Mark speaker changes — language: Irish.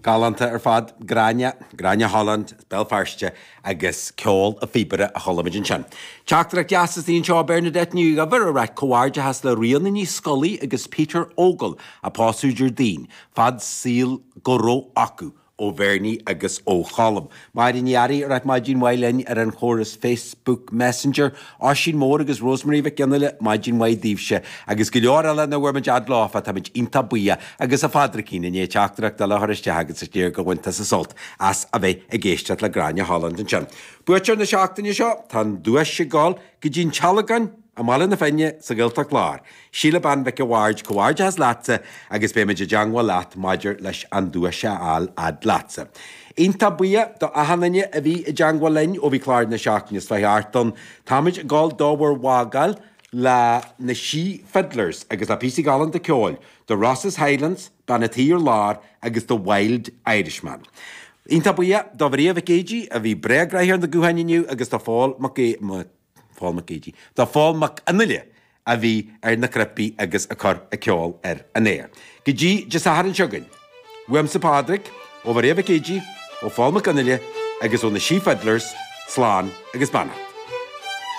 Speaker 1: Galánta ar fad. Gráinne, Gráinne Holland, as Béal Feirste agus ceol a phíobaire a chuala muid ansin. Teachtaireacht dheas istigh anseo ó Bernadette Ní Dhuibhir ag ráit comhghairdeachas le Ríona Ní Scolaí agus Peter Ogle a pósadh Déardaoin. Fad saoil go raibh acu. ó Bhernie agus ó Cholm. Máire Ní Fhearraigh ag ráit maidin mhaith linn ar an chóras Facebook Messenger. Oisín Mór agus Rosemary Mhic Fhionnghaile, maidin mhaith daoibhse. Agus go leor eile nach bhfuair muid fhad leofa, táimid iontach buíoch. Agus a Phádraicín, i ndiaidh teachtaireacht eile a chur isteach agus is léir gur bhain tusa sult as a bheith ag éisteacht le Gráinne Holland ansin. Buaiteoir na seachtaine seo, tá an duais ag dul go dtí an Tealgán i mBaile na Finne sa Ghaeltacht Lár. Síle Bean Mhic a' Bhaird, comhghairdeachas leatsa agus beimid i dteangmháil leat maidir leis an duais a fháil fhad leatsa. Iontach buíoch do achan duine a bhí i dteangmháil linn ó bhí clár na seachtaine seo thart ann. Táimid ag dul do bhur bhfágáil le na Sí Fiddlers agus le píosa galánta ceoil, The Rosses Highlands, Bean a' Tí ar Lár agus The Wild Irishman. Iontach buíoch do Mharia Mhic Géidigh a bhí breá gnoitheach ar na gutháin inniu agus do Phól Mac Phól Mac Géidigh, do Phól Mac Fhionnghaile a bhí ar na cnaipí agus ag cur an ceol ar an aer. Go dtí Dé Sathairn seo chugainn, uaimse Pádraig, ó Mharia Mhic Géidigh, ó Phól Mac Fhionnghaile agus ó na Sí Fiddlers, slán agus beannacht.